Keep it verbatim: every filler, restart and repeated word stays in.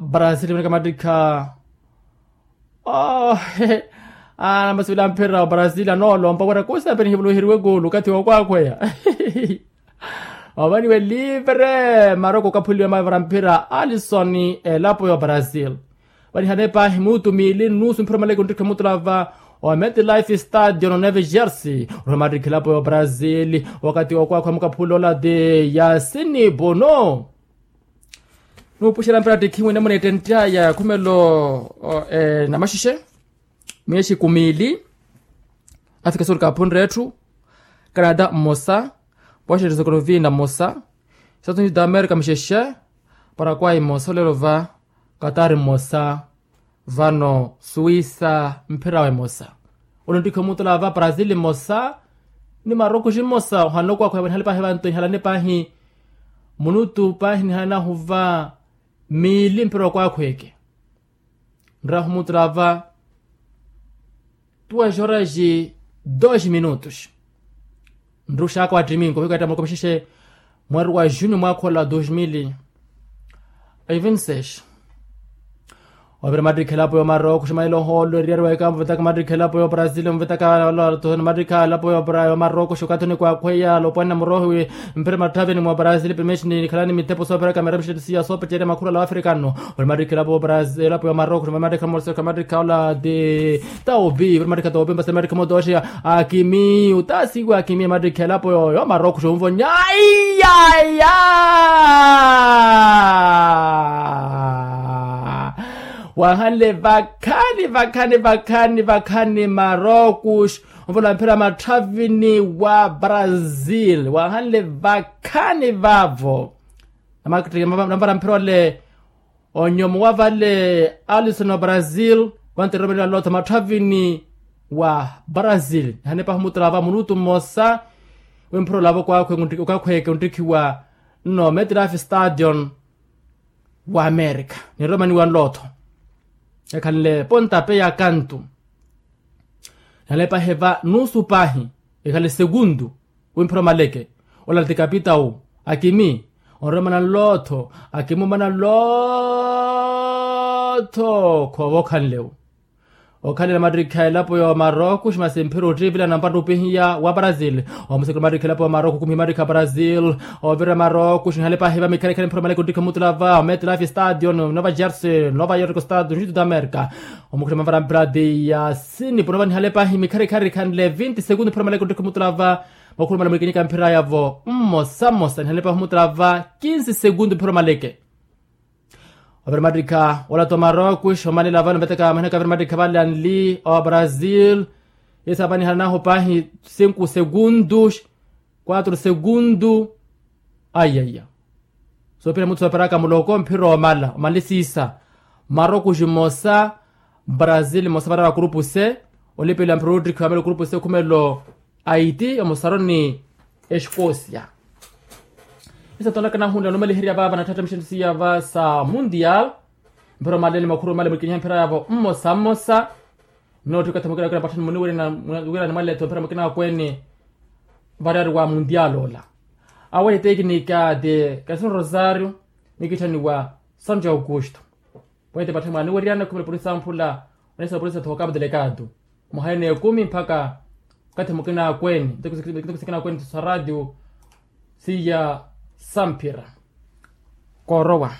Brazil mwenika mattikha. Namasi vila mphira wa brazil anoolompa wira kuusa penihivuloheriwe kuulu okathi wookwaakhweya. Ovaniwe livre maroko okaphuliwa mavara mphira alison elapo ya brazil. Vanihane paahi minutu miili nnusu mphira maleke onttikha mutulava wa metlife stadion neve jersey. Orwa mattikha elapo ya brazil. Wakathi wookwaakhweya mukaphulola ti yasini bono. Nuupuxela mperattikhi mwene muneettenttaya khumelo. Namaxexe miyexi kumiili. Afika sul kaphunre etthu. Canada mmosa. Washington sokolovina mmosa. Estados unidos da america mixexe. Parakwai mmosa olelo va. Katari mmosa. Vano suwisa mphirawe mmosa. Olo nttikhi omutula va brazil mmosa. Ni marokuxi mmosa ohanle okwakhweya vanihale paahi vanto nihalane paahi. Munutu paahi nihalanahu va miili mpira okwakhweke. Nrahu mutula va. Tuwa xoraxi dos minutos. Nruxaka wa ttiminko ohiketta mwakomixexe. Mweri wa junio mwaakhola dos mil e vinti seis. Ovira mattikha elapo ya omaroko xumanela ohoolo eriyari wa ekampo vetaka mattikha elapo ya obrazil mvetaka. Mattikha elapo ya omaroko xukatho ni kwakhweya lopwanina murohi. Mpira matthavini mwa brazil primexi ni nikhalani mittepo sooperaka mira mixettisiya soopecerya makhurala wa afrikano. Ovira mattikha elapo ya omaroko xumanela mattikha mmosa mattikha ola ti. Taupi vira mattikha taupi mbasa mattikha motoxeya. Akimi utaasiwa akimi mattikha elapo ya omaroko xunvonya. Aiyaya. Wahanle vakhani vakhani vakhani vakhani marokus. Onvola mphira matthavini wa brazil wahanle vakhani vavo. Namvara mphira ole. Onyomo wa vale alison wa brazil. Vantereromela nlotho matthavini wa brazil nihane pahi omutula va munutu mmosa. Wimphira olavo kwakhweke onttikhiwa nno metlife stadion wa america. Niromaniwa nlotho ekhanle pontape ya kantu. Nihale pahi va nusu pahi ekhale sekundu. Wimphira omaleke ola ti kapitau akimi. Onromana nlotho akimi omana nlotho khoova okhanlewo. Okhalela mattikha elapo ya omaroko ximasi mphira ottiipila nampa nrupihiya wa brazil. Omusekela mattikha elapo ya omaroko kumihi mattikha brazil. Ovira maroko xinhale pahi va mikhalikhali mphira omaleke onttikha mutula va metlife stadion nova jersey nova york stadion juto da america. Omukhuluma mvara mphira ti yasini pono vanihale pahi mikharikhari khanle vinti segundu mphira omaleke onttikha mutula va. Vakhulumala mulikinyika mphira yavo mmosa mmosa nihale pahi omutula va kinsi segundu mphira omaleke. Ovira mattikha olata omaroko xomanela vano veteka mahinaka vira mattikha vale anli o brazil. Yesa vanihalanahu pahi sinku segundu. Kuatru segundu. Aiyaiya. Soopira mutu sooperaka muloko mphira omala omalisiisa. Marokuxi mmosa brazil mmosa varara wa kurupu se. Olipela mphira ottikhiwa melo kurupu se khumelo. Aiti omosaro ni exkosia. Isatonaka nahunla numaliherya vaava natthaatta mixentisiya va sa mundial. Mphira omalele makhuru omale mulikinyiha mphira yavo mmosa mmosa. Nnootthi okathi mukina akina patthani muniwirana mwaleetho mphira mukina akweene. Variyari wa mundial ola awe etekinika ti kasino rosario. Nikitthaniwa santo augusto. Pweete patthani mwaniwiriyana khumela polisi amphula. Onesa polisi athoka mudelekado muhayi n'ekumi mpakha okathi mukina akweene. Nto kusikina akweene tisa radio siya samphira. Koorowa.